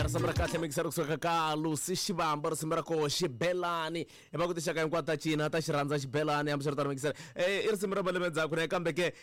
Risimu ra kahle mikisero kusuka ka Lucy Xivambo, risimu ra koho Xibelani. Hi va ku tinxaka hinkwato ta cina ta xi rhandza xibelani, hambiswiritano mikisero i risimu ra malembe ndzhaku ne kambe ke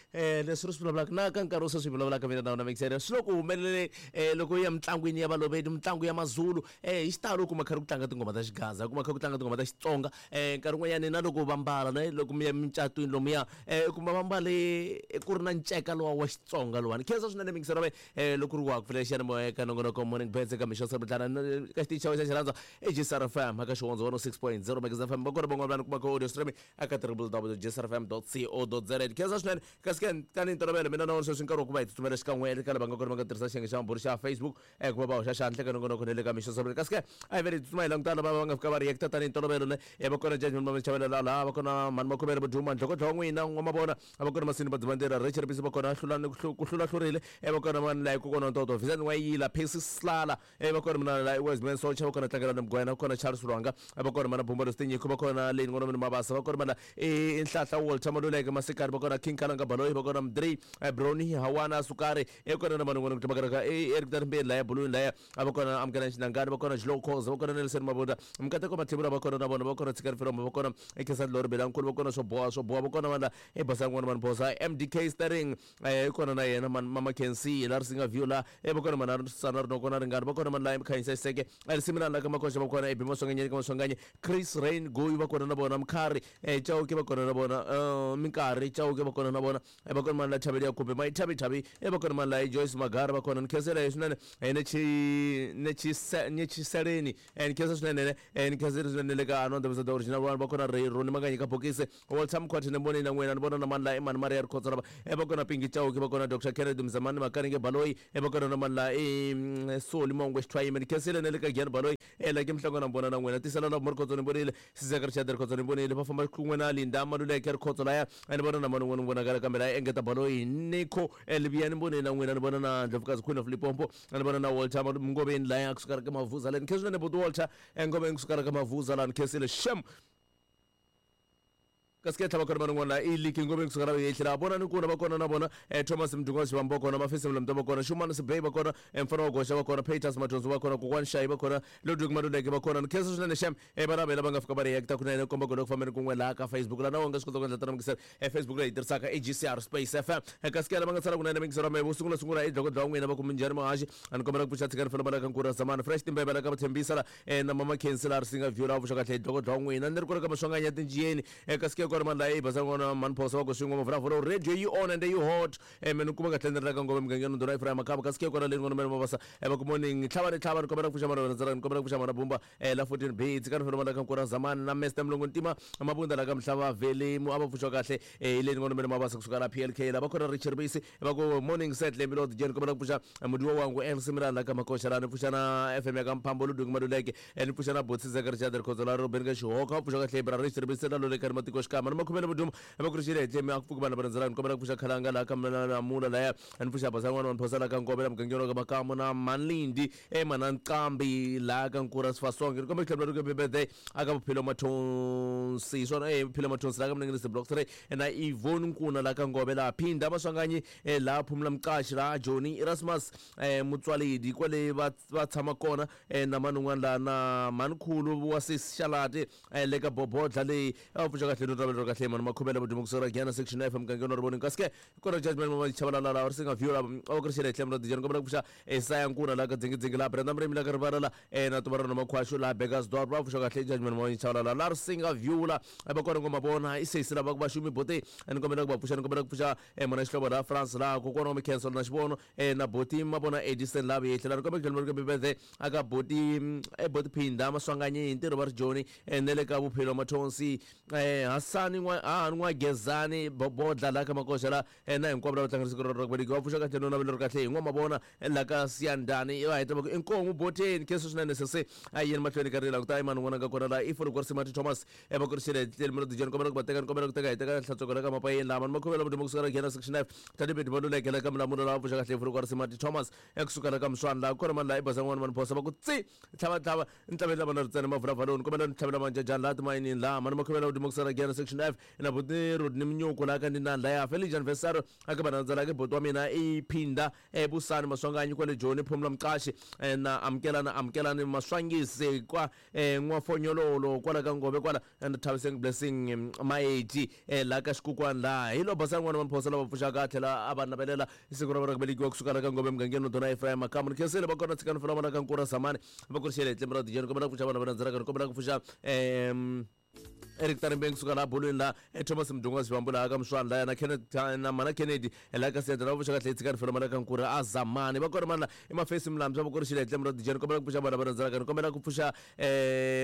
leswi ri swi vulavulaka na ka nkarhi wo sweswi hi vulavulaka mina na wena mikisero swi le ku humeleleni loko u ya mitlangwini ya Balobedu, mitlangu ya Mazulu hi xitalo u kuma kha ri ku tlanga tinghoma ta xigaza, u kuma kha ku tlanga tinghoma ta Xitsonga nkarhi wun'wanyani na loko va mbala ne loko mi ya mincatwini lomuya u kuma va mbale ku ri na nceka lowa wa Xitsonga lowani. Khensa swinene mikisero wa mina loko ri wa ku pfulela xiyanimoya eka nongonoko Morning Birds eka mixo Sirbutlana ka xitichi xa wena xa xirhandza i GCR FM eka xihondzo 106.0 Magazine FM va kona van'wana vanhu kumaka audio streaming eka www.gcrfm.co.za. Khensa swinene kasi ke tanihi ntolovelo mina na wena sweswi nkarhi wa ku va hi tsutsumela xikan'we eka lava nga kona va nga tirhisa xiyenge xa mabulu xa Facebook ku va va hoxa xandla eka nongonoko ne le ka mixo Sirbutlana kasi ke a hi vele hi tsutsuma hi languta lava va nga fika va reacta tanihi ntolovelo ne va kona Judgment Mama Chavelela laha va kona Mhani Makhuvele Vuduma Ndlhokodlho wa n'wina n'wamavona a va kona Masini Badzivandlela Rachel Bisi va kona Hlulani ku hlula hlurile va kona mani laha kokwana Ntoto Vincent N'wayila Percy Slala va kona mina laha Wiseman Socha va kona Tlangelani Mugwena va kona Charles Lwanga va kona mana Bumba Lositinyiko va kona Leni N'wana Mabasa va kona mana i Nhlahla Walter Maluleke Masikari va kona King Kalanga Baloyi va kona Mdri Brownie Hawana Sukari i kona na mani n'wana ku tlamakaraka i Eric Darimbeni laya Buluni laya a va kona Amukelani Xinangani va kona Jlo Khoza va kona Nelson Mabunda Mkateko Mathebula va kona na vona va kona Tshikani Filombo va kona Khensani Lori Belankulu va kona swo boha swo boha va kona vanhu i Basani n'wana mani Phosa MDK Sterling i kona na yena mani Mama Kensi la Risinga View la va kona mani Sana Rinoko na Ringani va kona mani la Khanyisa Xiseke Risiminani la ka Makoxa va kona Ebi Maswanganyeni ka Maswanganye Chris Rain Goyi va kona na vona Mkhari Chauke va kona na vona Minkarhi Chauke va kona na vona va kona mani la Thaveli ya Khupe Mayithavi Thavi va kona mani la Joyce Magara va kona ni khensela hi swinene Netshiseleni ni khensa swinene ni khensela swinene le ka Anonda the original one va kona Ray Roni Makanyi ka Bokisi Walter Mkhwathe ni vone na n'wina ni vona na mani la i mani Maria Rikhotso lava va kona Pinki Chauke va kona Dr Kennedy Mzamani Makanenge Baloyi va kona na mani la i Soli Mongwe Xithwayime ni khensile ne le ka Giyani Baloyi la ke Mhlangwana na vona na n'wina tisela lava Rikhotso ni vonile Sizeka Richard Rikhotso ni vonile va famba kun'we na Linda Maluleke Rikhotso laya ni vona na mani n'wana vonakala kambe la engeta Baloyi Nico Libiya ni vonile na n'wina ni vona na Ndlovukazi Queen of Limpopo ni vona na Walter Ngoveni laya kusuka ka Mavuza la ni khensile ne buti Walter Ngoveni kusuka ka Mavuza la ni khensile shem kasi ke tlhava kona van'wana i liki ngomeni kusuka la yehle la vona ni kuna va kona na vona Thomas Mdunga Xivambo va kona Mafisi Mlamto va kona Shumani Sibey va kona Mfana wa Goxa va kona Peters Mathonso va kona Kokwani Shayi va kona Ludwig Maluleke va kona ni khensa swinene xem vana vela va nga fika va reacta kunene komba ku loko fambeni kun'we laha ka Facebook la na wona nga swi kota ku endla tana mikiselo Facebook leyi tirhisaka i GCR Space FM kasi ke lava nga tsala kunene mikiselo wa mehe vo sungula sungula i dlokodlo wa n'wina va ku minjhani muhaxi a ni kombela ku pfuxa tshikani fela balaka nkura zamani fresh timbeve la ka va la na mama Khensi la ri singa view la vuxa kahle dlokodlo wa n'wina ni ri ku ri ka maswanganya tinjiyeni kasi ke kona mani la i basa n'wana mani phosa va ku swin'we mavulavula radio yi on and yi hot me ni kuma kahle ni ri la ka ngove mugangeni ndhuna Ephraim Makamba kasi ke kona leyi n'wana mene mabasa va ku morning tlhava ni tlhava ni kombela ku pfuxa mara ni kombela ku pfuxa mara bumba la 14 B tshikani fela mala ka nkura zamani na Mr Mlungu Ntima Mabunda la ka Mhlava Valley mu a va pfuxa kahle hi leyi n'wana mene mabasa kusuka la PLK la va kona Richard Bisi va ku morning set le Milord Jane kombela ku pfuxa mudiwa wangu MC Milani la ka Makoxa la ni pfuxa na FM ya ka Mphambo Ludwig Maluleke ni pfuxa na Botsi Zeka Richard Rikhotso la Ruben ka Xihoka va pfuxa kahle bra Richard Bisi la loleka ni matiko xikama ni makhumele mudumo va ku rixile hi tlemi a ku pfuki vanhu va rhandzela ni kombela ku pfuxa khalanga la ka Namula laya ni pfuxa basa n'wana wa Mphosa la ka Ngovela mugangeni wa ka Makamu na Manlindi mana Nqambi la ka Nkura Sifasonge ni kombela ku tlhela ri birthday aka Bophelo Mathonsi swona Bophelo Mathonsi la ka Mninginisi block 3 na Yvonne Nkuna la ka Ngove la Phinda Maswanganyi la Phumula Mqashi la Johnny Erasmus Mutswaledi kwale va va tshama kona na man'wana la na Mankhulu wa Sis Xalati le ka Bobodla leyi a pfuxa kahle no ravelo kahle mani makhomela vudumo kusuka Giyani section F mugangeni wa Rivoni kasi ke kona judgment mama Chabalala la ri singa view la a ku ri xele tlhelo ra dijani kombela ku pfuxa Esaya Nkuna la ka dzingidzingi la Brenda Mrimi la ka Rivala la na Tuvarano Makhwashu la Bekkersdorp va pfuxa kahle judgment mama Chabalala la ri singa view la va kona ngoma vona i sesi lava va xumi bote ni kombela ku va pfuxa ni kombela ku pfuxa mona xihlovo la France la kokwana wa Mikhenso na xivono na boti mavona Edison la vuyehlela la ni kombela ku tlhela birthday aka boti boti Phinda Maswanganyi hi ntirho va ri Joni ne le ka Bophelo Mathonsi Hasani n'wa Hahani n'wa Gezani Bobodla la ka Makoxa la na hinkwavo lava tlangela siku ra ku velekiwa va pfuxa kahle no navelo ri kahle hi n'wamavona la ka Siyandani va heta va ku inkomu boteni khensa swinene sese a yeni mahlweni ka rila kuta imani n'wana ka kona la i Folokori Simati Thomas va ku ri xile tleli milo dijeni kombela ku va teka ni kombela ku teka hi teka hlantsweko la ka mapayeni lama ni makhuvela mudumo kusuka la Giyani section 9 Tadibedi Maluleke la ka Mulamulo la va pfuxa kahle Folokori Simati Thomas ekusuka la ka Mswani la kona mani la i basa n'wana mani phosa va ku tsi tlhava tlhava ni tlhavela vana ritsena mavulavaloni kombela ni tlhavela manjajani la timayinini la mani makhuvela mudumo kusuka la Giyani section Section F na buti Rodney Mnyuku la ka ndinani laya Felicia Anniversary aka vanandzela ke buti wa mina i Phinda Busani Maswanganyi kwale Joni Phumla Mqashi na Amukelani Amukelani Maswangisi kwa N'wafonyololo kwala ka Ngove kwala and Thabiseng Blessing Maeti la ka Xikukwani laha hi lo basani n'wana wa Mphosa lava pfuxaka a tlhela a va navelela siku ra vona ku velekiwa kusuka la ka Ngove mugangeni Dona Ephraim Makamu ni khensile va kona tshikani fela vona ka Nkura Zamani va kurixele hi tlembe ra dijeni kombela ku pfuxa vana va landzelaka ni kombela ku pfuxa Eric Tarimbeng kusuka laha bolweni laha Thomas Mdungwa Xivambu laha ka Muswana laya na Kenneth na Mana Kennedy laha ka Siyanda lava pfuxa kahle tshikani fela mala ka Nkura a Zamani va kona mana i Mafesi Mlambya va kurixile hi tlembe ra dijeni kombela ku pfuxa vana va landzelaka ni kombela ku pfuxa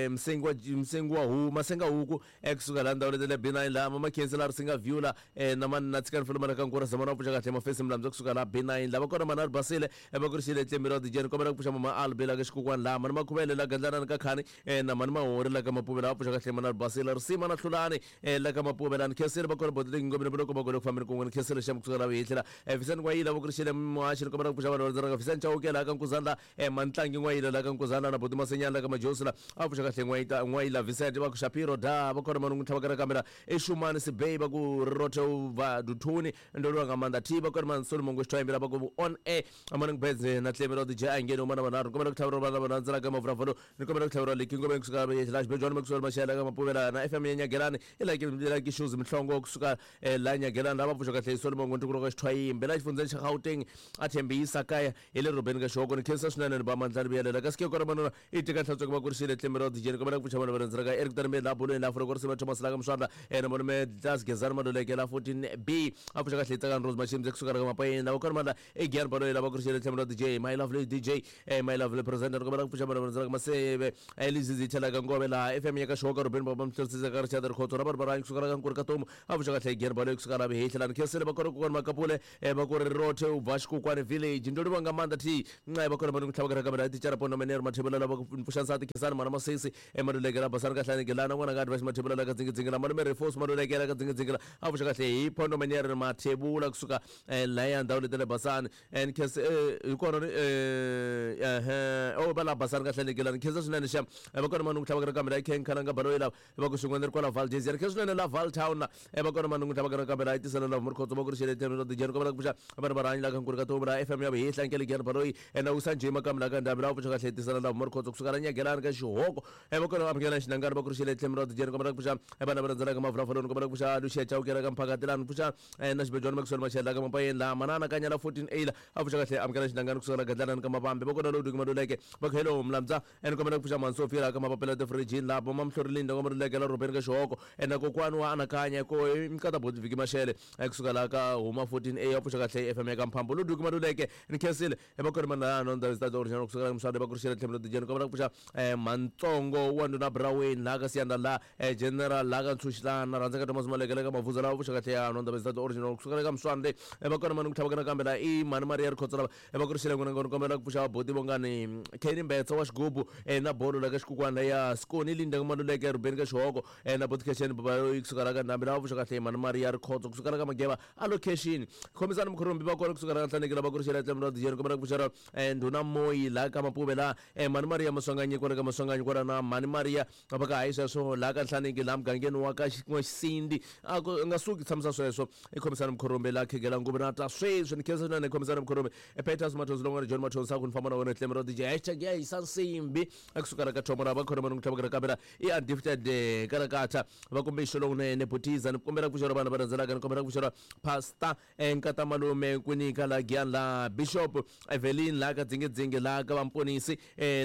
Msengi wa Msengi wa huku Masenga huku ekusuka laha ndhawu leti le B9 laha Mama Khensi laha Risinga View la na mani na tshikani fela mala ka Nkura Zamani va pfuxa kahle Mafesi Mlambya kusuka laha B9 lava kona mana ri basile va kurixile hi tlembe ra dijeni kombela ku pfuxa Mama Albi laha ka Xikukwani laha Mani Makhuvele laha Gandlanani ka Khani na Mani Mahori la ka Mapuve laha pfuxa kahle Mana Basile Risima na Hlulani la ka Mapuve laha ni khensile va kona boti leyi ngomeni loko va ku fambeni kun'we ni khensile xa kusuka laha hi tlhela Visani N'wayila va kurixile muhaxi ni kombela ku pfuxa vanhu va rhandzaka Visani Chauke laha ka Nkuzana la Mantlangi N'wayila laha ka Nkuzana na boti Masenyana la ka Majosi la a pfuxa kahle N'wayita N'wayila Vincent va ku Shapiro da va kona manungu tlhava ka kamera Exumani Sibei va ku Rothe va Duthuni ndo lwa nga maanḓa thi va kona man Solomon Ngwexithwaimbela va ku on air Morning Birds na tlemi ra DJ a ngeni umana vanharhu kombela ku tlhaveriwa vana va landzela ka mavulavula ni kombela ku tlhaveriwa leki ngome kusuka la xibejwana kusuka maxela ka mapuvela na FM ya Nyagelani i like like shoes Mhlongo kusuka la Nyagelani lava pfuxa kahle Solomon Ngwexithwaimbela ka Xithwayimbe la xifundzeni xa Gauteng a thembisa kaya hi le rhobeni ka xihoko ni khensa swinene ni ba mandla ni vuyelela kasi ke kona manuna i tika hlantsweke va kurisile tlemi ra DJ ni kombela ku pfuxa vana va landzela ka Eric Tarimbe la bolweni la Afrika Risiva Thomas la ka Mswandla na malume Dlas Gezani Maluleke la 14B a pfuxa kahle Tsakani Rose Mashimze kusuka la ka Mapayeni la kona mandla i Gian Baloyi lava kurisile tlemi ra DJ my lovely DJ my lovely presenter ni kombela ku pfuxa vana va landzela ka Maseve Lizizi tlhela ka Ngove la FM ya ka Xihoko Rubeni Baba Mhlorisisa ka Richard Rikhotso na vanhu va rhangi kusuka la ka Nkuri ka Tomu a pfuxa kahle Gian Baloyi kusuka la Vihehla la ni khensile va kona kokwana Makapule va ku ri Rothe u bva Xikukwani village ndo livha nga maanḓa thi nxa va kona va ni ku tlhava ka kamera tichara pono menero mathebula lava ku pfuxa nsati Khensani Mhana Masesi Malulekela Basani Kahlani Gelana n'wana ka Advice Mathebula la ka Dzingidzingi Malume Refos Malulekela ka Dzingidzingi a pfuxa kahle hi Pondo Menero Mathebula kusuka laya ndhawu leti le Basani ni khensa hi kona ehe o va la Basani Kahlani Gelana ni khensa swinene xa va kona mani ku tlhava ka kamera i Ken Khalanga Baloyi lava va ku xin'wana ri kwala Valdez ni khensa swinene la Val Town la va kona mani ku tlhava ka kamera i tisela la Murikhotso va ku ri xele ra dijeni kombela ku pfuxa vanhu va rhanyi la ka Nkuri ka Tomu la FM ya Vihehla Nkele Gian Baloyi na Usa Njima ka Mlaka Ndhambi la pfuxa kahle tisela la Murikhotso kusuka la Nyagelani ka Xihoko va kona amukela Xinangani va ku ri xele tlhelo ra dijeni kombela ku pfuxa vana va landzelaka Mavulavuloni kombela ku pfuxa Lucia Chauke ka Mphakati lani pfuxa na Xibejwana Maxwell Machela ka Mapayeni la Manana Kanya la 14A la a pfuxa kahle amukela Xinangani kusuka la Gadlanani ka Mavambe va kona Lodwig Maluleke va ku hello Mlamza ni kombela ku pfuxa Mhansofia la ka Mapapela Tifirijini la Mama Mhlori Linda ka Maluleke la Rhobeni ka Xihoko na kokwani wa anakanya ko Mkata Boti Viki Mashele kusuka la ka Huma 14A a pfuxa kahle FM ya ka Mphambo Lodwig Maluleke ni khensile va kona mana no ndhawu ta original kusuka la Mswanda va ku ri tlhelo dijeni kombela ku pfuxa Mantsongo wa nduna Braweni la ka Siyanda la General la ka Ntshuxilana rhandza ka Thomas Maleke la ka Mavuza la pfuxa kahle ya no ndhawu ta original kusuka la ka Mswande va kona mani ku tlhava kana kambe la i Mhani Maria Rikhotso lava va ku ri xile n'wina ngoni kombela ku pfuxa vaboti vongani Kenny Mbetsa wa xigubu na bolo la ka Xikukwana ya Skoni Linda Maluleke Rubeni ka Xihoko na boti Khexeni Baba kusuka la ka Ndhambi lava pfuxa kahle Mhani Maria Rikhotso kusuka la ka Mageva a location khomisani Mukhurumbi va kona kusuka la ka Nhlaneki lava ku ri xile tlhelo ra dijeni kombela ku pfuxa ndhuna Moyi la ka Mapuve la Mhani Maria Maswanganyi kwala ka Maswanganyi kwala na Mhani Maria va ka hayi sweswo la ka Nhlaneki la mugangeni wa ka N'waxisindi a ku nga suki tshamisa sweswo i khomisani Mukhurumbi la khegela nguvu na ta sweswi ni khensa swinene khomisani Mukhurumbi Peters Mathonsi lon'wana John Mathonsi a ku ni famba na wena tlhelo ra DJ hashtag ya hisa nsimbi ekusuka la ka thomo ra va khona vanhu ku tlhava ka kamera i undefeated karakatha va kumbe xo lowunene butiza ni kombela ku pfuxela vana va rhandzelaka ni kombela ku pfuxela pastor Nkata Malume Kwinika la Giyani la Bishop Evelyn la ka Dzingidzingi la ka Vamponisi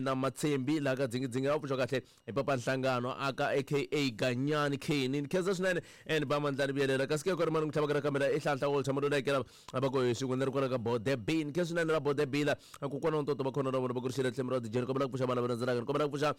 na Matshembi la ka Dzingidzingi va pfuxa kahle hi Papa Nhlangano aka aka Ganyani Keni ni khensa swinene ni ba mandla ni vuyelela kasi ke kona mani ku tlhava ka kamera i Hlanhla Walter Maluleke va ku hi swin'we ni ri kwala ka Bode B ni khensa swinene la Bode B la kokwana wa ntoto va khona na vona va ku ri xile tlhelo ra dijeni kombela ku pfuxa vana va rhandzelaka ni kombela ku pfuxa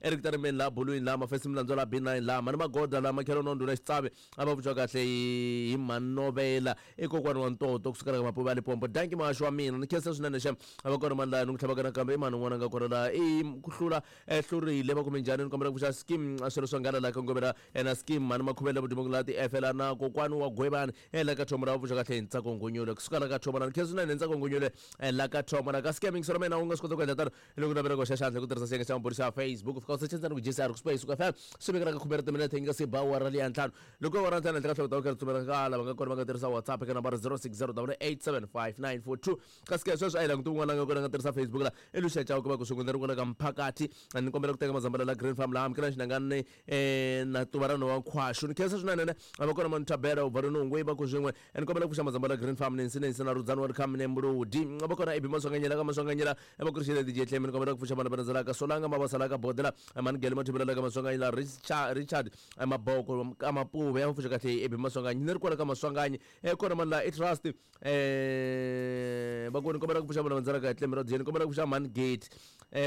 Eric Tarimeni la Bulwini la Mafesi Milandzo la B9 la Mhani Magoda la Makhelo Nonduna Xitsavi a va pfuxa kahle hi Manovela i kokwani wa ntoto kusukela ka Mapuva ya Limpopo danki muhaxi wa mina ni khensa swinene xa va kona mani laha ni ku tlhavaka nakambe i mani un'wana a nga kona laha i ku hlula hlurile va kume njhani ni kombela ku pfuxa scheme swilo swa nghala la ka ngomela na scheme mhani Makhuvele vudimo la ti efela na kokwani wa Gwebani la ka Thomo la va pfuxa kahle hi Ntsako Nghunyule kusuka la ka Thomo la ni khensa swinene hi Ntsako Nghunyule la ka Thomo la ka scam yingiselo mina u nga swi kota ku endla tano loko navela ku hoxa xandla hi ku tirhisa xiyenge xa mabulu xa Facebook fika u search ntsena ku JCR ku space ku FM. ntlhanu swi vekela ka khume ra timinete yi nga se ba awara leya ntlhanu. Loko awara ntlhanu henhla ka hloko ta ku ripfumela ka lava nga kona va nga tirhisa WhatsApp eka nambara 0608875942. Kasi ke sweswi a hi languti un'wana a nga kona a nga tirhisa Facebook la i Lucia Chauke va ku swin'we ni ri kwala ka mphakathi ni kombela ku teka mazambala la Green Farm laha amukela xinangani na tuva ra nhova nkhwaxu. Ni khensa swinene ne a va kona Manu Thabela u bva Nungwe va ku swin'we ni kombela ku pfuxa mazambala Green Farm Nancy Nancy na Rudzani wa Rikhami ne Mbuludi va kona Ibi Maswanganyela ka Maswanganyela va ku ri xile DJ Tlemi ni kombela ku pfuxa vana va rhandzelaka Solanga Mavasala ka Bodela Manigele Mathubela ka Maswanganyela Richard Maboko ka Mapuve ya pfuxa kahle Ibi Maswanganyi ni ri kwala ka Maswanganyi kona mani la i Trust va ku ni kombela ku pfuxa vana va rhandzelaka Tlemi ra ni kombela ku pfuxa Mani Gate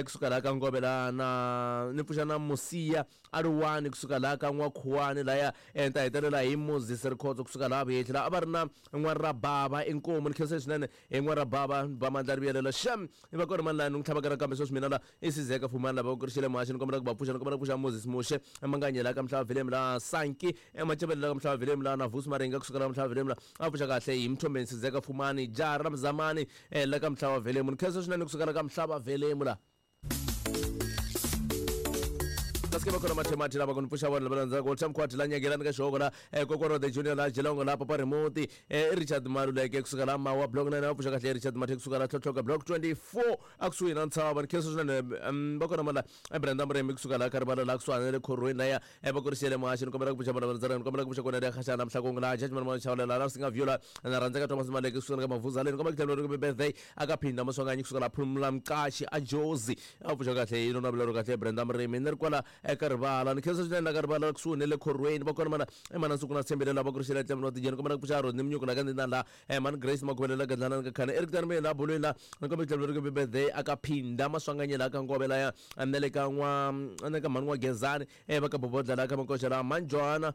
kusuka laha ka Ngove laha na ni pfuxa na Musiya Aluwani kusuka laha ka N'wakhuwani laya ni ta hetelela hi Moses Rikhotso kusuka laha Vuhehli laha a va ri na N'warabava inkomu ni khensa swinene hi N'warabava ba mandla ri vuyelela xem i va kona mani laha ni n'wi tlhavaka nakambe sweswi mina la i Sizeka Fumani lava ku ri xile muhaxi ni kombela ku va pfuxa ni kombela ku pfuxa Moses Muxe Manganyela ka Mhlava Vilemu laha Sanki Macevele la ka Mhlava Vilemu laha na Vusi Maringa kusuka la Mhlava Vilemu la a pfuxa kahle hi Mthombeni Sizeka Fumani jaha ra Mzamani la ka Mhlava Vilemu ni khensa swinene kusuka la ka Mhlava Vilemu la. Kasi ke va kona mathemati lava ku ni pfuxa vona lava landzaka Walter Mkhwati la nyagelani ka xihoko la kokwana wa the junior la Geelong la Papa Remote Richard Maluleke kusuka la Mawa block 9 va pfuxa kahle Richard Mathe kusuka la Tlhotlhoka block 24 a kusuhi na ntshava ni khensa swinene va kona mala Brenda Muremi kusuka la Karivala la kusuhani na le khorweni laya va kurisele muhaxi ni kombela ku pfuxa vona va landzaka ni kombela ku pfuxa kona le Khashana Mhlakongo la Judgment Mona Chawlela la Singa Viola na rhandzeka Thomas Maleke kusuka ka Mavuzaleni kombela ku tlhela birthday aka phinda Maswanganyi kusuka la Phumla Mqashi a Jozi a pfuxa kahle yi nona vulero kahle Brenda Murimi ni ri kwala eka rivala ni khensa swinene la ka rivala kusuhi ni le khorweni va kona mana mana nsuku na tshembele lava ku ri xela tlhelo tijeni kombela ku pfuxa Rodney Mnyuku la ka ndina la mani Grace Makhuvele la Gadlana ka Khana Eric Tanimeni la bolweni la ni kombela ku tlhela ri birthday aka phinda Maswanganyi la ka Ngove laya na le ka n'wa na ka mhani n'wa Gezani va ka Bobodla la ka Makoxa la mani Johanna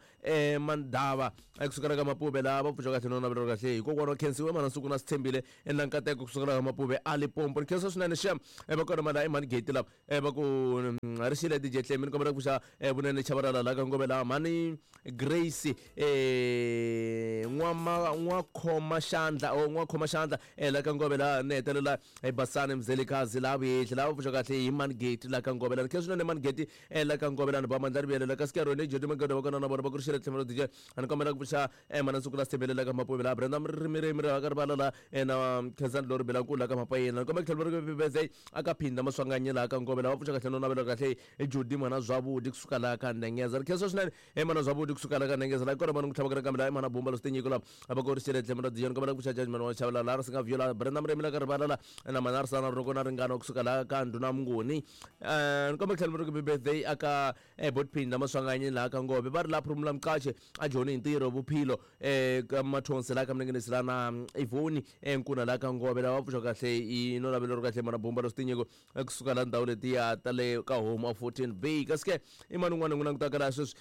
Mandava kusukela ka Mapuve la va pfuxa kahle no navela kahle hikokwalaho wa khensiwe mana nsuku na sithembile na nkateko kusukela ka Mapuve a Limpopo ni khensa swinene xem va kona mala i mani gate lava va ku ri xile DJ Tlemi ni kombela ku pfuxa vunene Chabalala la ka Ngove la mani Grace n'wa n'wa khoma xandla o n'wa khoma xandla la ka Ngove la ni hetelela hi Basani Mzelikazi la Vuhehli la va pfuxa kahle hi mani gate la ka Ngove la ni khensa swinene mani gate la ka Ngove la ni ba mandla ri vuyelela kasi ke rona Jody Magodo va kona na vona va ku ri xile tlhelo ra DJ a ni kombela ku pfuxa mana nsuku la sithembele la ka Mapuve la Brenda Mrimirimi ra ka rivala la na Khensani Lori Belankulu la ka Mapayeni ni kombela ku tlhela ri birthday aka phinda Maswanganyi la ka Ngove la va pfuxa kahle no navela kahle Jody mwana Zwavudi kusuka la ka Ndengeza ri khensa swinene mana Zwavudi kusuka la ka Ndengeza la kona mana ku tlhava ka kambe la mana Bumba lo sitinyiko la va ku ri xile tlhelo ra DJ ni kombela ku pfuxa Judgment wa Chavala la ri singa viola Brenda Mrimi la ka rivala la na mana ri sana roko na ringana kusuka la ka Ndhuna Mnguni ni kombela ku tlhela ri birthday aka Botpin Maswanganyi la ka Ngove va ri la Phumla Mqashe a joni hi ntirho vuphilo ka Mathonsi la ka Mninginisi la na Ivoni Nkuna la ka Ngove lava pfuxa kahle i no lavelo ri kahle mana Bumba lo sitinyiko kusuka la ndhawu letiya ta le ka home of 14 B kasi ke i mani un'wana n'wi langutaka laha sweswi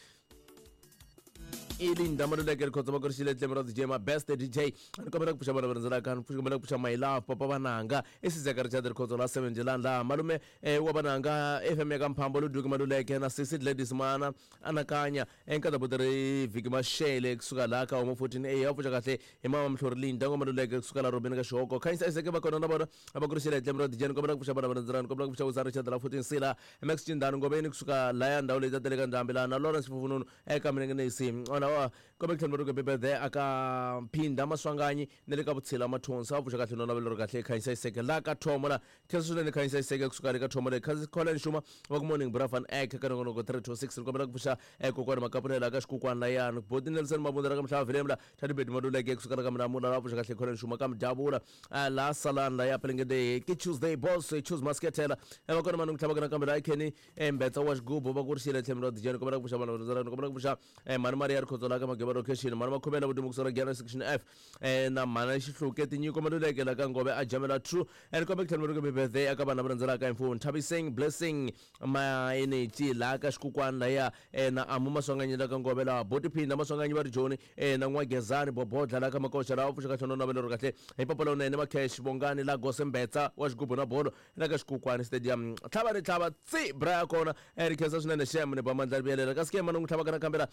i Linda Maluleke Rikhotso va ku ri xile tlhelo ra DJ ma best DJ ni kombela ku pfuxa vana va rhandzelaka ni kombela ku pfuxa my love papa vananga i Sizeka Richard Rikhotso la 7 Jelani laha malume wa vananga FM ya ka Mphambo Ludwig Maluleke na Sisi Gladys Mana anakanya nkata buti ri Vhiki Mashele kusuka laha ka Homo 14 A va pfuxa kahle hi mama Mhlori Linda ngoma Maluleke kusuka la Robin ka Xihoko Khanyisa Isaac va kona na vona va ku ri xile tlhelo ra DJ ni kombela ku pfuxa vana va rhandzelaka ni kombela ku pfuxa Usa Richard la 14 C la Max Chindani Ngobeni kusuka laya ndhawu leyi ta le ka Ndhambi laha na Lawrence Fufununu eka Mninginisi ona wa kombe ku tlhela ri birthday aka Phinda Maswanganyi na le ka Vutshila Mathonsi va pfuxa kahle no navelo ri kahle Khanyisa Iseke la ka Thomo la khensa swinene Khanyisa Iseke kusuka le ka Thomo le Colin Shuma va ku morning bra van ek ka nongonoko 326 ni kombela ku pfuxa kokwani Makapunela ka Xikukwana layani Boti Nelson Mabunda la ka Mhlava Vilemu la Thadibedi Maluleke kusuka la ka Mlamula la pfuxa kahle Colin Shuma ka Mdavula la Salani la ya Pelengede ke Tuesday boss choose Masketela va kona mani ku tlhava ka nakambe la Kenny Mbetsa wa xigubu va ku ri xile tlhelo ra DJ ni kombela ku pfuxa vanhu va ni kombela ku pfuxa mhani Maria Rikhotso la ka Mageba location mhani Makhuvela Vudumo kusuka la Giyani section F na mhani Xihluke Tinyiko Maluleke la ka Ngove a Jamela True ni kombela ku tlhela ri birthday aka vanhu lava rhandzelaka hi mfumo Nthabiseng Blessing Maenechi la ka Xikukwana laya na Amu Maswanganyi la ka Ngove la Boti Phinda Maswanganyi va ri Joni na N'wagezani Bobodla la ka Makoxa la va pfuxa kahle no navelo ri kahle hi papa lowunene Makhesh Bongani la Gose Mbetsa wa xigubu na bolo la ka Xikukwana Stadium tlhava ni tlhava tsi bra ya kona ri khensa swinene xem ni ba mandla ri vuyelela kasi ke mani n'wi tlhavaka nakambe la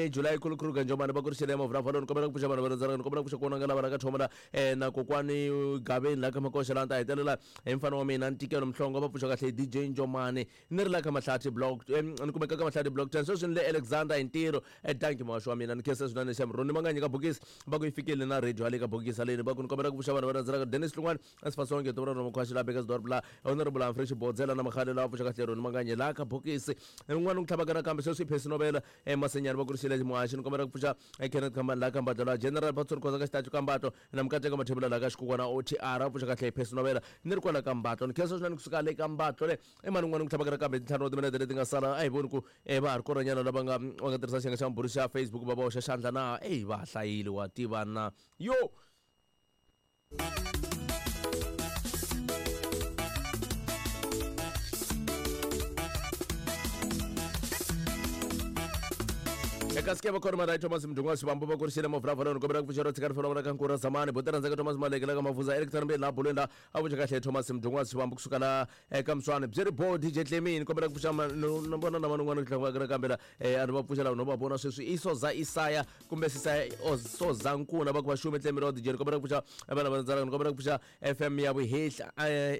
July. Mkhulu Kruger Njomani va ku ri xele mavula ni kombela ku pfuxa vanhu va rhandzana, ni kombela ku pfuxa ku vonanga lava la ka thomela na kokwani Gaveni la ka Makoxa la ta hetelela hi mfana wa mina Ntikelo Mhlongo va pfuxa kahle DJ Njomani ni ri la ka Mahlathi block ni kumeka ka Mahlathi block 10 sweswi ni le Alexander hi ntirho. Danki muhaxi wa mina, ni khensa swinene xem. Roni Manganyi ka bokisi va ku yi fikile na radio hale ka bokisi haleni va ku ni kombela ku pfuxa vanhu va rhandzanaka Dennis Hlungwani Asifasonke Tobra Roma Khwaxi la Bekasdorp la Honorable Humphrey Xibodzela na Makhale la pfuxa kahle Roni Manganyi la ka bokisi un'wana ku tlhavaka nakambe sweswi i Phesi Novela Masenyani va ku ri xile muhaxi ni kombela ku pfuxa Kenneth Khambani la ka Mbatlo la General Patsori Khoza ka xitachu ka Mbatlo na Mukateka Mathebula la ka Xikukwana OTR a pfuxa kahle Phesi Novela ni ri kwala ka Mbatlo ni khensa swinene kusuka le ka Mbatlo le i mani un'wana ku tlhavaka nakambe tintlhanu wa timinete leti nga sala a hi voni ku va ha ri kona nyana lava nga va nga tirhisa xiyenge xa mbhuri xa Facebook va va hoxa xandla na eyi va hlayile wa tiva na yo. Eka sike va khona mara Thomas Mdungwa Xivambo va kurisile mavulavulo ni kombela ku pfuxela tshika rifelo ra ka Nkura Zamani botera ndzeka Thomas Maleke la ka Mavuza Eric Thanambe la bulweni la a vuxa kahle Thomas Mdungwa Xivambo kusuka la eka Mswani byi ri bo DJ Clemini kombela ku pfuxa na vona na van'wana ku tlanga kambe la a ni va pfuxela no va vona sweswi i Soza Isaya kumbe Sisaya Soza Nkuna va ku va xume Clemini wa DJ ni kombela ku pfuxa vana va ndzalaka ni kombela ku pfuxa FM ya Vuhehla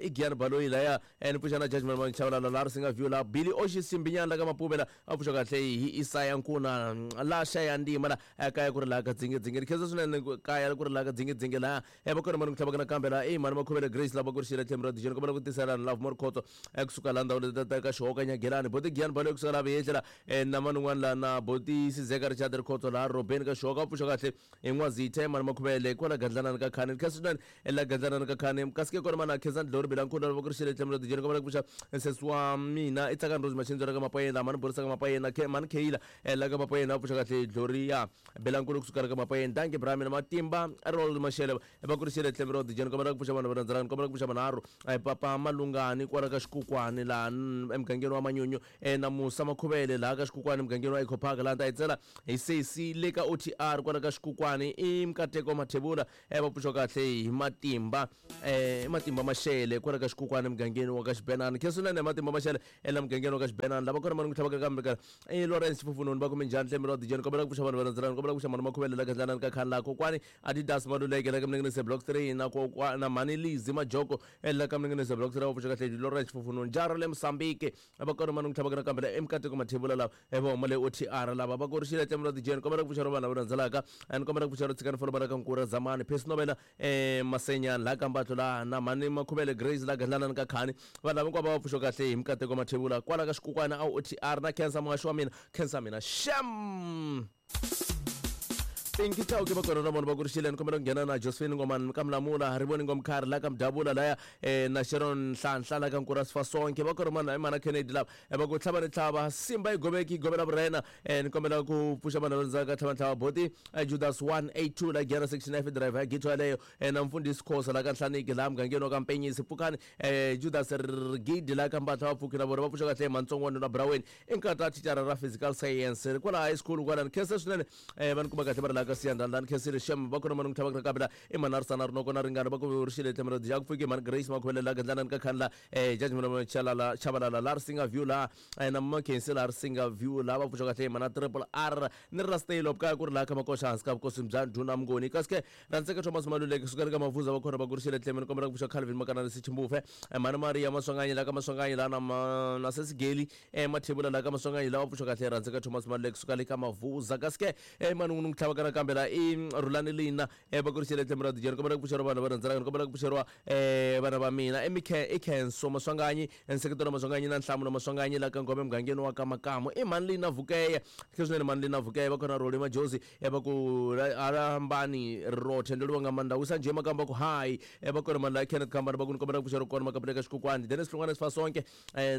i Giyani Baloyi laya ni pfuxa na Judgment Manchavalala la ri singa view la Billy Oxi Simbinyana la ka Mapuvela a pfuxa kahle hi Isaya Nkuna la xaya ndima la kaya ku ri laha ka dzingedzinge ni khensa swinene kaya ku ri laha ka dzingedzinge laha va kona mani ku tlhavaka nakambe laha i mani Makhuvele Grace lava ku ri xile tlhelo ra DJ ni kombela ku tisela Love More Khotso kusuka laha ndhawu leti ta ka Xihoka Nyagelani Boti Giyani Baloyi kusuka laha Vuyehlela na mani un'wana laha na Boti Sizeka Richard Rikhotso laha Robeni ka Xihoka a pfuxa kahle hi N'wazitha mani Makhuvele kwala Gandlanani ka Khani ni khensa swinene la Gandlanani ka Khani kasi ke kona mani a khensa Ndlori Bilankulu lava ku ri xile tlhelo ra DJ ni kombela ku pfuxa sesi wa mina i Tsakani Rose Machindzo la ka Mapayeni mani Borisa ka Mapayeni mani Kheyila la ka Mapayeni a pfuxa kahle Gloria Bilankulu kusuka la ka Mapayeni danke bra mina Matimba Rold Mashele va ku ri xile tlhelo ra DJ ni kombela ku pfuxa vanhu va rhandzanaka ni kombela ku pfuxa manharhu Papa Malungani kwala ka Xikukwani laha emugangeni wa Manyunyu na Musa Makhuvele laha ka Xikukwani emugangeni wa Eco Park laha ni ta yi tsela hi sesi le ka OTR kwala ka Xikukwani i Mkateko Mathebula va pfuxa kahle hi Matimba i Matimba Mashele kwala ka Xikukwani emugangeni wa ka Xibenani khensa swinene Matimba Mashele ela mugangeni wa ka Xibenani lava kona mani ku tlhavaka kambe ka i Lawrence Fufunoni va kume njhani tlhelo ra DJ ni kombela ku pfuxa vanhu va rhandzanaka ni kombela ku pfuxa mani Makhuvele la Gandlanani ka Khani laha kokwani Adidas Maluleke la ka Mninginise Block 3 na kokwana na mhani Lizzy Majoko la ka Mninginise Block 3 va pfuxa kahle hi Lawrence Fufunoni jara le Mozambique va kona mani ku tlhavaka nakambe la eMkateko Mathebula lava va huma le OTR lava va korixile tlhelo ra DJ ni kombela ku pfuxa ro vanhu lava rhandzelaka ni kombela ku pfuxa ro tshikani folo va ka Nkura Zamani Phesi Novela Masenyani la ka Mbatlo la na mhani Makhuvele Grace la Gandlanani ka Khani vanhu lava hinkwavo va pfuxa kahle hi Mkateko Mathebula kwala ka Xikukwana a OTR na khensa muhaxi wa mina khensa mina xem. Pinky Chauke va kona na vona va ku ri xile ni kombela ku nghena na Josephine Ngomani ka Mlamula Rivoni Ngomkhari la ka Mdavula laya na Sharon Nhlanhla la ka Nkura Sifasonke va kona mana mana Kennedy lava va ku tlhava ni tlhava Simba yi goveki yi govela vurhena ni kombela ku pfuxa vanhu lava ka tlhava ni tlhava Boti Judas 182 la Giyani section F driver ya gito yaleyo na Mfundhisi Khosa la ka Nhlaniki laha mugangeni wa ka Mpenyisi Pfukani Judas Rigidi la ka Mbatla va pfuki na vona va pfuxa kahle Mantsongwana na Braweni i nkata thicara ra physical science kwala high school kwala ni khensa swinene va ni kuma kahle va ri laha ka Siyandhandla ni khensile xem va kona mani ku tlhava ka la i manarisana rinoko na ringana va ku ri xile tlhelo ra ku pfuki mani Grace Makhuvele la Gandlanani ka Khanla Judgment Chalala Chabalala la Risinga View la na Makhensi la Risinga View la va pfuxa kahle mana Triple R ni ri ra Stale kaya ku ri laha ka Makoxa hansi ka vukosi bya Ndhuna Mnguni kasi ke Rantseka Thomas Maluleke suka ka Mavuza va kona va ku ri xile tlhelo ni kombela ku pfuxa Calvin Makanani Sichimbufe mani Maria Maswanganyi la ka Maswanganyi la na Sesigeli Mathebula la ka Maswanganyi la va pfuxa kahle Rantseka Thomas Maluleke suka le ka Mavuza kasi ke mani n'wi tlhava kana kambe la i Rhulani Lina va ku ri xile tlhelo ra DJ ni kombela ku pfuxeriwa vanhu va rhandzanaka ni kombela ku pfuxeriwa vana va mina i Khenso Maswanganyi nseketelo Maswanganyi na Nhlamulo Maswanganyi la ka Ngome mugangeni wa ka Makamu i mani Lina Vukeya swinene mani Lina Vukeya va kona Roli Majozi va ku alambani rothe ndoliwa nga maanḓa wisa nje makamba ku hai va kona mani la Kenneth Kambani va ku ni kombela ku pfuxeriwa kona makapele ka Xikukwani Dennis Hlongwane Sifasonke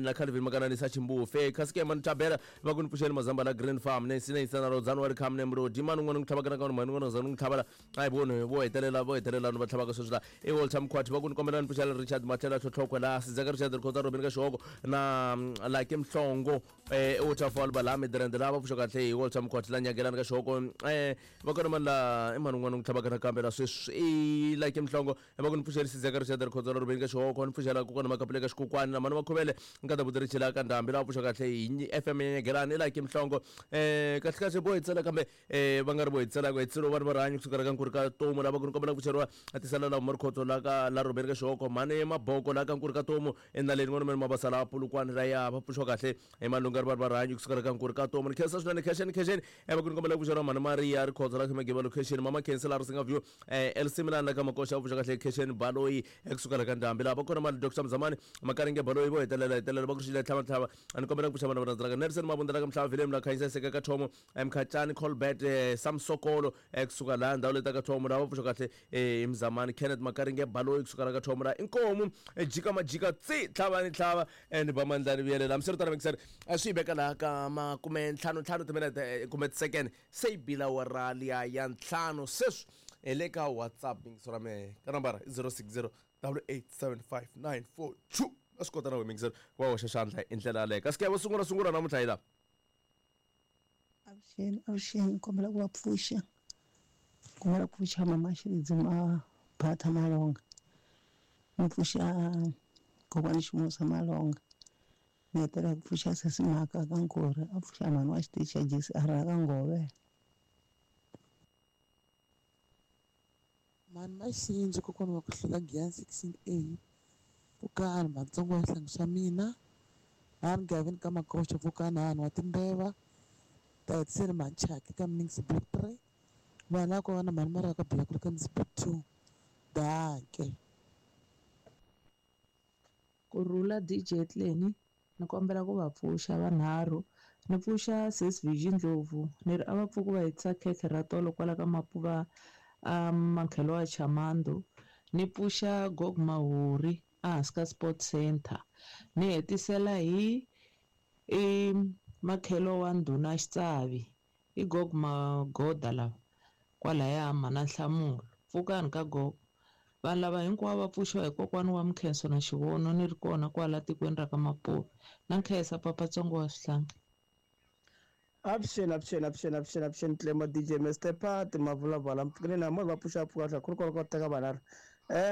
na Calvin Makanani sa Chimbufe kasi ke mani Thabela va ku ni pfuxeli Mazamba la Green Farm Nancy Nancy na Rodzani wa ri Kham Nemrodi mani un'wana ku tlhava tlhavaka na ka mhani n'wana za ni n'wi tlhava la a hi voni vo hetelela vo hetelela ni va tlhavaka sweswi la i Walter Mkhwati va ku ni kombela ni pfuxela Richard Matlhela Tlhotlhokwe la Sidzeka Richard Rikhotsa Robin ka Xihoko na Lucky Mhlongo Waterfall va laha Midrand laha va pfuxa kahle hi Walter Mkhwati la Nyagelani ka Xihoko va kona mani la i mani un'wana n'wi tlhavaka nakambe la sweswi i Lucky Mhlongo va ku ni pfuxela Sidzeka Richard Rikhotsa Robin ka Xihoko ni pfuxela kokwana Makapule ka Xikokwani na mani Makhuvele nkata Buti la ka Ndhambi laha pfuxa kahle hi FM ya Nyagelani i Lucky Mhlongo kahle kahle vo hi tsela kambe va nga ri vo hi tsela ku hetseriwa vanhu va rihanyo kusuka ka Nkuri ka Tomu lava ku ni kombela ku pfuxeriwa a tisala la huma Rikhotso la ka la Robeni ka Xihoko mhani Maboko la ka Nkuri ka Tomu enaleni n'wana mani Mabasa la Pulukwani ra ya va pfuxiwa kahle hi Malunga ri vanhu va rihanyo kusuka ka Nkuri ka Tomu. Ni khensa swinene khexeni khexeni va ku ni kombela ku pfuxeriwa mhani Maria Rikhotso la Khemegeba location mama Khensa la Risinga View LC Milani la ka Makoxa va pfuxa kahle khexeni Baloyi ekusuka la ka Ndhambi laha va kona mali Dr Mzamani Makaringe Baloyi vo hetelela hetelela va ku xile tlhava tlhava a ni kombela ku pfuxa vanhu va rhandzaka Nelson Mabunda la ka Mhlava Vilem la Khanyisa Seka ka Thomo Mkhachani Colbert Sam Sokolo kusuka laha ndhawu leti ka Thomo laha va pfuxa kahle hi Mzamani Kenneth Makaringe Baloyi kusuka la ka Thomo laha inkomu jika majika tsi tlhava ni tlhava and ba mandlani vuyelela hambiswiritano mikiseri swi yi veka laha ka makume ntlhanu ntlhanu timinete kumbe tisecond se yi bila awara liya ya ntlhanu. Sweswi hi le ka WhatsApp mingiso ra mehe ka nambara i 060 8875942. A swi kota na we mingiseri wa hoxa xandla hi ndlela yaleyo kasi ke vo sungula sungula namuntlha hi laha. Avuxeni, avuxeni, kombela ku va pfuxa, kombela ku pfuxa mama Xilidzi Mabhatha Malonga, ni pfuxa kokwani Ximusa Malonga, ni hetelela ku pfuxa sesi Mhaka ka Nkori, a pfuxa mhani wa xitichi xa JCR ka Ngove. Mhani Maxinji, kokwana wa ku hlula Giyani 16A, pfukani matsongo wa xihlangi xa mina, hani Gavin ka Makoxa, pfukani hani wa timbeva, ta hetiseli Machaki ka Mnings Block 3, vanhu lava ko va na mhani Maria ka Block ka Mnings Block 2, danke. Kurhula DJ Tleni, ni kombela ku va pfuxa vanharhu. Ni pfuxa sis Vision Ndlovu, ni ri a va pfuki va hetisa khekhe ra tolo kwala ka Mapuva a makhelo wa Chamando. Ni pfuxa Gog Mahuri ehansi ka Sport Center. Ni hetisela hi i makhelo wa ndhuna Xitsavi, i Gog Magoda lava kwalaya mana Nhlamulo. Pfukani ka Gog. Vanhu lava hinkwavo va pfuxiwa hi kokwana wa Mkhenso na Xivono, ni ri kona kwala tikweni ra ka Mapuva. Na nkhensa papatsongo wa swihlangi. Avuxeni, avuxeni, avuxeni, avuxeni, avuxeni Tlemo DJ Mr Pat Mavulavala mpfukeni na mo va pfuxa pfuka tlha ku ri kona ko teka vanharhu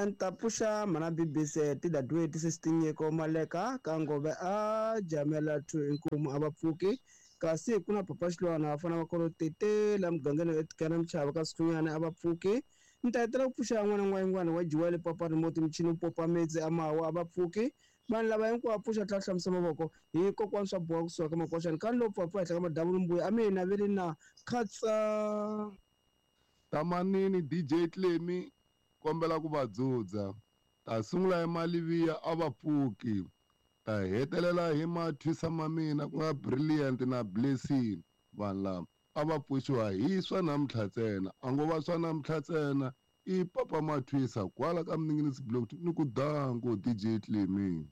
ni ta pfuxa mhana BBC tidadweti sesitinyeko Maleka ka Ngove a jamela 2 inkomu a va pfuki kasi ku na Papa Xilwana va fana va kolo tete la mugangeni etikana Mchava ka Sikhunyana a va pfuki. Ni ta hetelela ku pfuxa n'wana n'wayingwana wa Jiwele Papa Remote michini popa metsi a mawa a va pfuki. Vanhu lava hinkwavo pfuxa tlhela hlamusa mavoko hi kokwana swa boha kusuka ka Makoxani ka lo pfapfa henhla ka madavulu mbuya a mina veli na khatsa. Tamanini DJ Clemi, kombela ku va dzudza, ta sungula hi Maliviya a va pfuki, ta hetelela hi Mathwisa ma mina ku nga Brilliant na Blessing. Vanhu lava a va pfuxiwa hi swa namuntlha ntsena, a ngo va swa namuntlha ntsena. I Papa Mathwisa kwala ka Mninginisi Block ni ku danko DJ Clemi.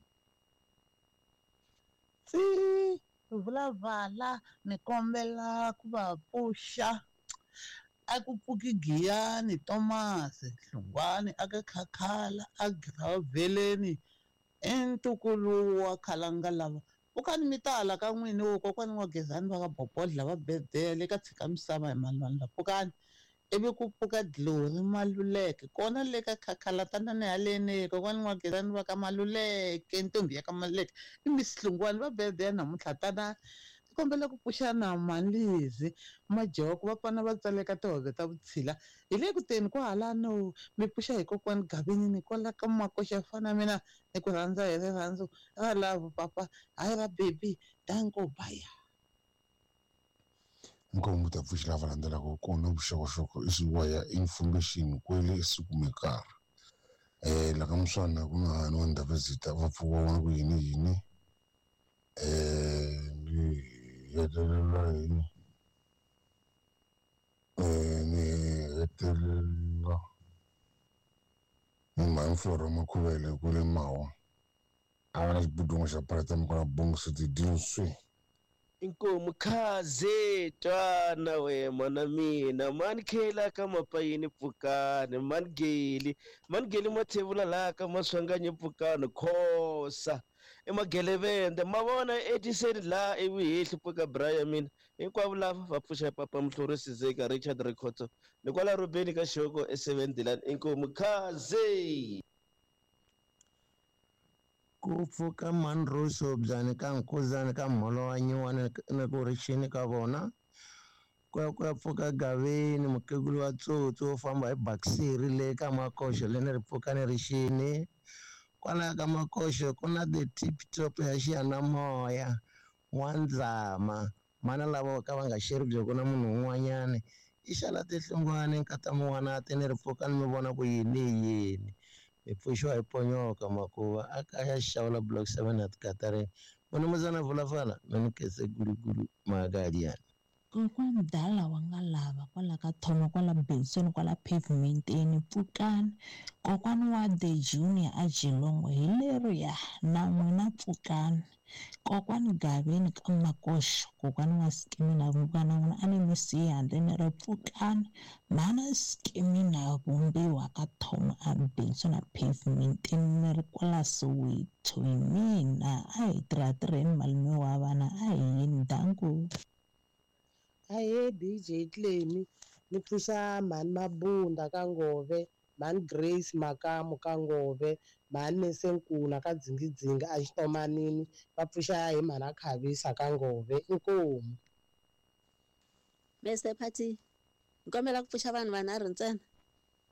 Tsi vulavala, ni kombela ku va pfuxa a ku pfuki Giyani Thomas Hlungwani a ka Khakhala a Gravheleni i ntukulu wa Khalanga lava pfukani mi tala ka n'wini wo kokwani wa Gezani va ka Bobodla va Bebele ka tshika misava hi malwandla pfukani ivi ku pfuka Glory Maluleke kona le ka Khakhala tanani haleni kokwani wa Gezani va ka Maluleke ntombi ya ka Maluleke i Miss Hlungwani va Bebele namuntlha tanani kombela ku pfuxa na Manlizi Majoko va pfana va tsaleka tihove ta vutshila hi le ku teni kwahalano mi pfuxa hi kokwani Gavini ni kwala ka Makoxa fana mina ni ku rhandza hi rirhandzu ra love papa hayi ra baby danko baya. Inkomu ta pfuxa lava landzelaka kona vuxokoxoko i swi ya information kwele sikumekara la ka muswana ku na hani wa Ndabezitha va pfuka vona ku yini yini ni hetelela hi ni hetelela ni mhani Flora Makhuvele kwele Mawa a va na xibudungo xa Paratam kwala Bongisi tidinswi. Inkomu khaze twana we mana mina mani khela ka mapayini pfukani mani geli mani geli mathevula laha ka maswanganyi pfukani khosa i magelevende ma vona etiseni laha evuhehli pfuka braya mina hinkwavo lava va pfuxa papa muhluri sizeka Richard Rikhotso ni kwala rubeni ka xoko e7 Dilan inkomu khaze. Ku pfuka manruso byani ka nkuzani ka mholo wa nyiwani ni ku rixini ka vona ku ya ku ya pfuka gaveni mukhegulu wa tsotsi wo famba hi bakisiri le ka makoxo le ni ri pfuka ni rixini kwalaya ka makoxo ku na the tip top ya xiyanimoya n'wandzama mana lava ka va nga xeri byo ku na munhu un'wanyani i xala tihlungwani nkata mun'wanati ni ri pfuka ni mi vona ku yini yini hi pfuxiwa hi ponyoka makuva a kaya xawula block 7 at katarini munumuzana vulafala mi ni kese gulugulu magaliani. Kokwani dala wa nga lava kwala ka thoma kwala Benson kwala pavementeni pfukani kokwani wa the junior a Geelong hi leriya na n'wina pfukani kokwani Gaveni ka Makoxo kokwani wa Skimina vumbiwa na n'wina a ni mi siyi handle ni ri pfukani mhana Skimina vumbiwa ka thoma a Benson a pavementeni ni ri kwala Soweto hi mina a hi tirhatirheni malume wa vana a hi yini danko. Ahee DJ Clemi ni pfuxa mhani Mabunda ka Ngove, mhani Grace Makamu ka Ngove, mhani Mesenkuna ka Dzingidzingi a Xitomanini va pfuxa hi mhani Khavisa ka Ngove inkomu. Mr Party ni kombela ku pfuxa vanhu vanharhu ntsena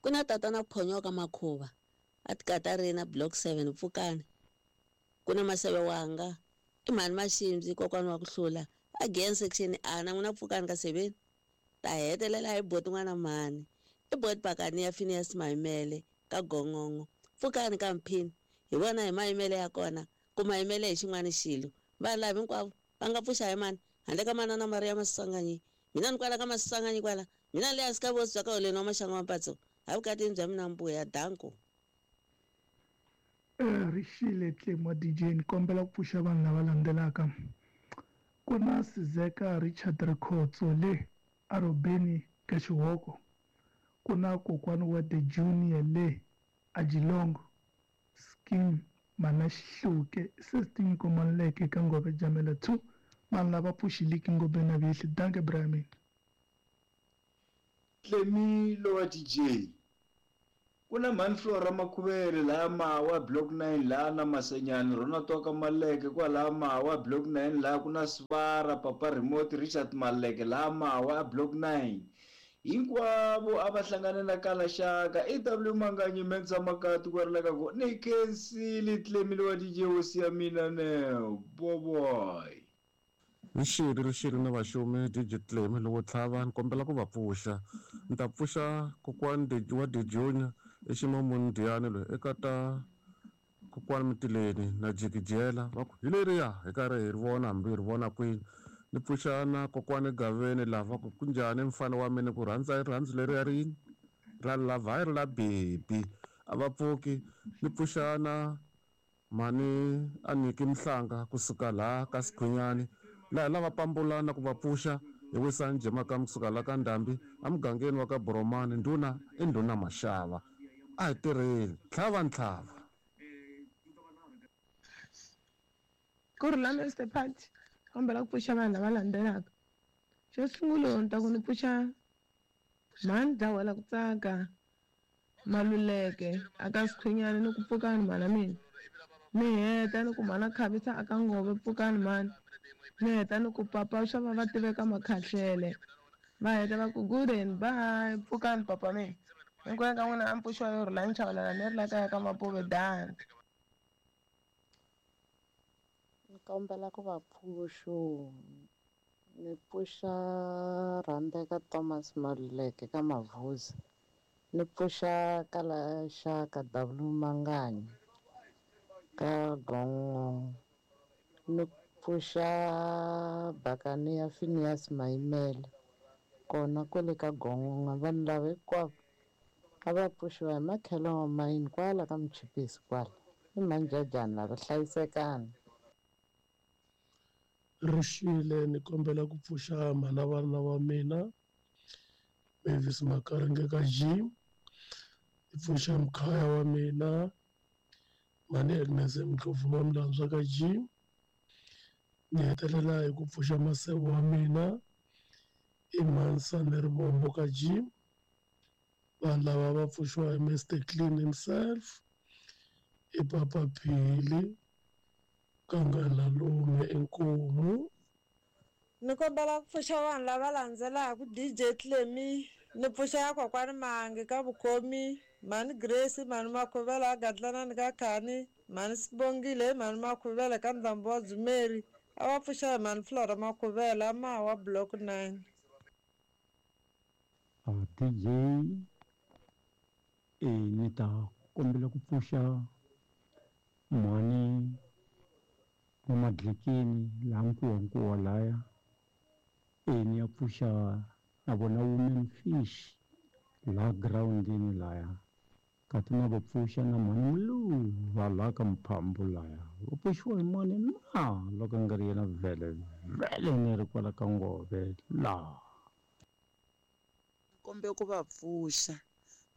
ku na tatana Phonyoka Makhuva a tikatarina block 7 pfukani ku na Maseve wanga i mhani Maximzi kokwani wa ku hlula again section A na n'wina pfukani ka 7 ta hetelela hi boti n'wana mhani i boti pakani ya Phineas Mayimele ka Gongongo pfukani ka Mphini hi vona hi Mayimele ya kona ku Mayimele hi xin'wana xilo vanhu lava hinkwavo va nga pfuxa hi mani handle ka manana Maria Maswanganyi mina ni kwala ka Maswanganyi kwala mina le hansi ka vosi bya ka holeni wa maxangu wa mpatso ha vukatini bya mina mbuya danko. Rixile Tlemo DJ ni kombela ku pfuxa vanhu lava landzelaka ku na Sizeka Richard Rikhotso le arobeni ka Xihoko ku na kokwani wa the junior le a Geelong scheme mana Xihluke sestin komanleke ka Ngove Jamela 2 vanhu lava pfuxiliki Ngove na vihli danke Brahmin. Tlemi lowa DJ ku na mhani Flora Makhuvele laha Mawa block 9 laha na Masenyani rona toka Maleke kwalaha Mawa block 9 laha ku na Svara Papa Remote Richard Maleke laha Mawa block 9 hinkwavo a va hlangane na Kalaxaka EW Manganyi Mensa Makati ku ri ka ku ni khensile Tlemi lowa DJ hosi ya mina ne boboy. Rixile na vaxumi DJ Tlemi lowo tlhava ni kombela ku va pfuxa ni ta pfuxa kokwani wa the junior eximamuni Diyani loyi eka ta kokwani Mitileni na Jikijela va ku hi leriya hi karhi hi ri vona hambi hi ri vona kwini ni pfuxa na kokwani Gaveni lava ku kunjhani mfana wa mina ku rhandza i rirhandzu leriya rini ra lava hayi ri la bebi a va pfuki ni pfuxa na mhani Aniki Mhlanga kusuka laha ka Sikhunyani laha lava pambulana ku va pfuxa hi wisani Jemaka kusuka laha ka Ndhambi emugangeni wa ka Boromani ndhuna i ndhuna Maxava a hi tirheni tlhava ntlhava. Ku ri la Mr Party kombela ku pfuxa vanhu lava landzelaka xo sungula ni ta ku ni pfuxa mhani Dlawela ku tsaka Maluleke aka Sikhunyani ni ku pfukani mhana mina ni heta ni ku mhana Khavisa aka Ngove pfukani mhani ni heta ni ku papa swa va va tiveka Makhahlele va heta va ku good and bye pfukani papa mina hinkwenu ka n'wina a mi pfuxiwa yo rhula ni chavelela ni ri la kaya ka Mapuve dan. Ni kombela ku va pfuxo ni pfuxa Rhandeka Thomas Maluleke ka Mavuzi ni pfuxa Kalaxaka W Manganyi ka Gongongo ni pfuxa Bakani ya Phineas Mayimele kona kwale ka Gongongo vanhu lava hinkwavo a va pfuxiwa hi makhelo wa mayini kwala ka Muchipisi kwala i manjajani lava hlayisekani. Rixile ni kombela ku pfuxa mhana vana wa mina Mavis Makaringe ka G, ni pfuxa mkhaya wa mina mhani Agnes Mdlovu Mamlandzwa ka G, ni hetelela hi ku pfuxa maseve wa mina i Mhansani Rivombo ka G. Vanhu lava va pfuxiwa hi Mr Clean himself i Papa Phili Kangalalume inkomu. Ni kombela ku pfuxa vanhu lava landzelaka DJ Clemy ni pfuxa ya kokwani Mahangi ka Vukhomi, mhani Grace, mhani Makhuvela a Gadlanani ka Khani, mhani Sibongile, mhani Makhuvela ka Ndhambo wa Dzumeri, a va pfuxa hi mhani Flora Makhuvela a Mawa Block 9. DJ ni ta kombela ku pfuxa mhani wa Madlekeni laha Nkuwankuwa laya, ni ya pfuxa na vona Women Fish laha girawundini laya, kati na va pfuxa na mhani Muluva laha ka Mphambu laya, va pfuxiwa hi mani na loko nga ri yena vhele vhele ni ri kwala ka Ngove laha. Kombe ku va pfuxa,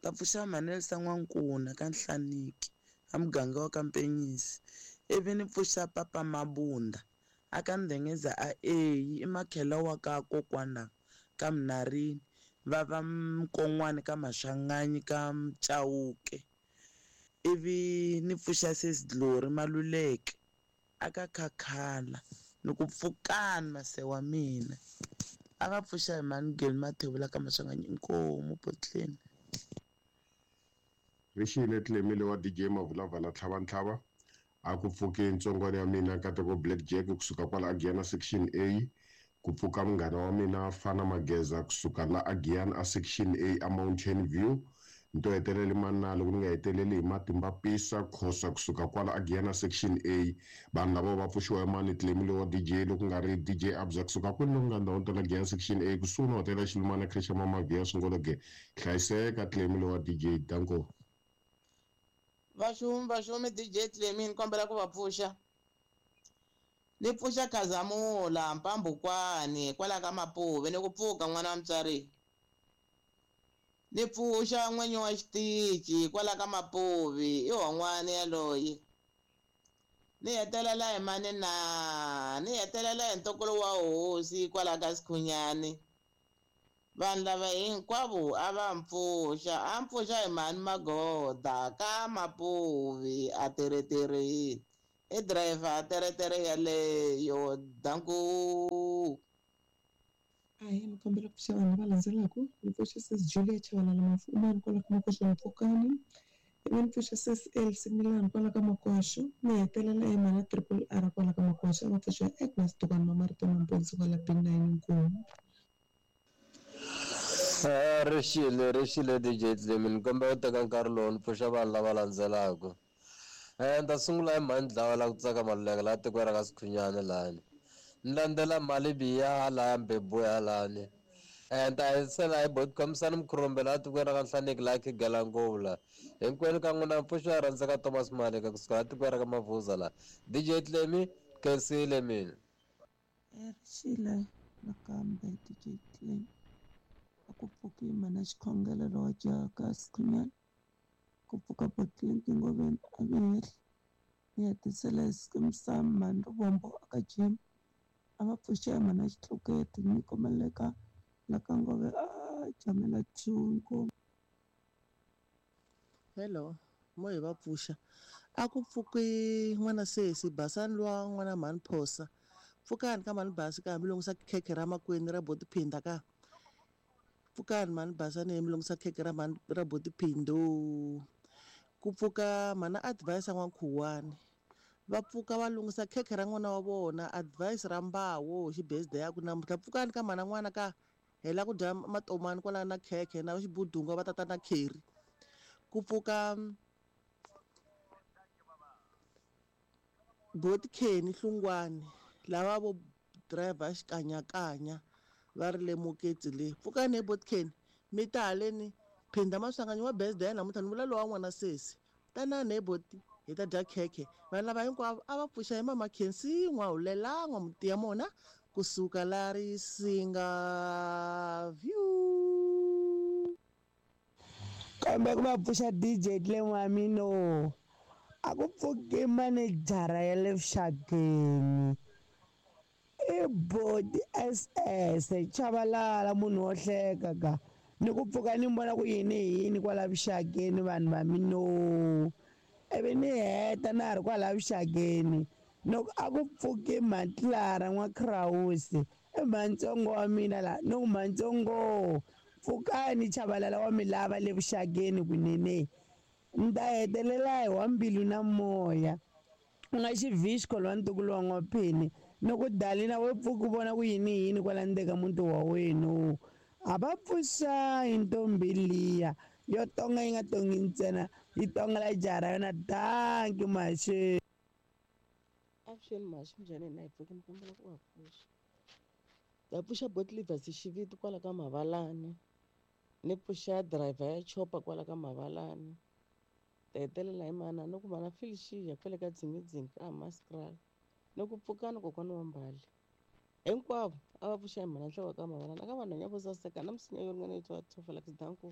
ta pfuxa mhani Elsa N'wankuna ka Nhlaniki a muganga wa ka Mpenyisi, ivi ni pfuxa papa Mabunda a ka Ndengeza a Eyi i makhela wa ka kokwana ka Mnarini, va va Mkon'wana ka Maswanganyi ka Mchauke, ivi ni pfuxa Sis Glory Maluleke a ka Khakhala ni ku pfukani mase wa mina. A va pfuxa hi mhani Geli Mathebula ka Maswanganyi inkomu potleni. Rixile Clemile wa DJ Mavulavala Tlhavantlhava a ku pfuke ntsongwana ya mina Nkateko Black Jack kusuka kwala Agiyana section A, ku pfuka munghana wa mina Fana Mageza kusuka la Agiyana a section A a Mountain View, nto heteleli manalo ku ni nga heteleli hi matimba pisa khosa kusuka kwala Agiyana section A. Vanhu lava va pfuxiwa hi mani Clemile wa DJ loko nga ri DJ Abza kusuka kwini loko nga ndhawu ta Agiyana section A kusuhi na hotela Xilumana Creche Mama Via Swingologe. Hlayiseka Clemile wa DJ, danko. Vaxumi vaxumi DJ Clemy ni kombela ku va pfuxa. Ni pfuxa Khazamula Mpambukwani kwala ka Mapuve ni ku pfuka n'wana wa mutswari. Ni pfuxa n'winyi wa xitichi kwala ka Mapuve i hon'wana yaloye. Ni hetelela hi mani na ni hetelela hi ntokoto wa hosi kwala ka Sikhunyani. Vanhu lava hinkwavo a va mpfuxa, a mpfuxa hi mhani Magoda ka Mapuvi a tereterini i driver a teretere yaleyo danku. Ahee, ni kombela ku pfuxa vanhu lava landzelaka. Ni pfuxa Sis Julia Chavalala Mafumani kwala ka Makoxo Mpfukani, ivi ni pfuxa Sis Elsie Milani kwala ka Makoxo, ni hetelela hi mhana Triple R kwala ka Makoxo, a va pfuxa Agnes Dukani Mamarito Mamponsi kwala B9 Nkomu. Rixile rixile DJ Clemy ni kombela ku teka nkarhi lowu ni pfuxa vanhu lava landzelaka. Ni ta sungula hi mhani Dlawa la ku tsaka Maluleke laha tikweni ra ka Sikhunyani lahani, ni landzela mali Biya halaya Mbebuya halani, ni ta hetisela hi Botikomisani Mkhurumbe laha tikweni ra ka Nhlaniki laha Khigela ngopfu laha. Hinkwenu ka n'wina mpfuxo ya rhandzeka Thomas Maleka kusuka laha tikweni ra ka Mavuza laha. DJ Clemy khensile mina. Rixile nakambe DJ Clemy a ku pfuki mhana xikhongelo lowa jaha ka Sikhunyani, ku pfuka Botlinki Ngoveni a vi hehli, ni hetisela hi Skim Sam mhani Rivombo a ka Jim, a va pfuxa hi mhana Xitluketi ni komeleka la ka Ngove a jamela 2 inkomu. Hello, mo hi va pfuxa. A ku pfuki n'wana sesi basani luwa n'wana mhani Phosa. Pfukani ka mhani Basi ka mi lunghisa khekhe ra makwenu ra boti Phinda ka. Pfukani mhani Basani mi lunghisa khekhe ra mhani ra boti Phindo. Ku pfuka mhana Advice N'wankhuwani. Va pfuka va lunghisa khekhe ra n'wana wa vona Advice ra Mbawo hi birthday ya ku namuntlha. Pfukani ka mhana n'wana ka hela ku dya matomani kwala na khekhe na xibudunga va tata na kheri. Ku pfuka Boti Kenny Hlungwani lava vo driver xikanyakanya va ri lemuketsi le. Pfukani he Boti Kenny mi ta haleni Phinda Maswanganyi wa birthday ya namuntlha ni vula lowa n'wana sesi. Tanani he Boti. Hi ta dya khekhe. Vanhu lava hinkwavo a va pfuxa hi Mama Khensi N'wahulela N'wamutiya mona kusuka la Risinga View. Kambe ku va pfuxa DJ Clem wa mina a ku pfuki manejara ya le vuxakeni i boti SS Chabalala munhu wo hleka ka ni ku pfuka ni vona ku yini yini kwala vuxakeni vanhu va mino ivi ni heta na ha ri kwala vuxakeni loko a ku pfuki Mhatlara n'wa-Crawusi i mhantsongo wa mina la ni ku mhantsongo pfukani Chabalala wa mi lava le vuxakeni kunene ni ta hetelela hi wa mbilu na moya u nga xivhixko lowa ntukulu wa n'waphini ni ku dalina we pfuki u vona ku yini yini kwala ndzeni ka muti wa wenu a va pfuxa hi ntombi liya yo tonga yi nga tongi ntsena yi tongela jaha ra yona danki maxeni. Avuxeni mhaxi minjhani hina hi pfukile ni kombela ku va pfuxa ta pfuxa Botlivers xiviti kwala ka Mavalani ni pfuxa driver ya chopa kwala ka Mavalani ta hetelela hi mana ni ku mana Felicia kwale ka Dzingidzingi ka Hammanskraal ni ku pfukani kokwana wa Mbali hinkwavo a va pfuxa hi mhana Nhloko ka Mavalani aka vanhwanyana vo saseka na misinya yo ringana yi twa Tofela Danko.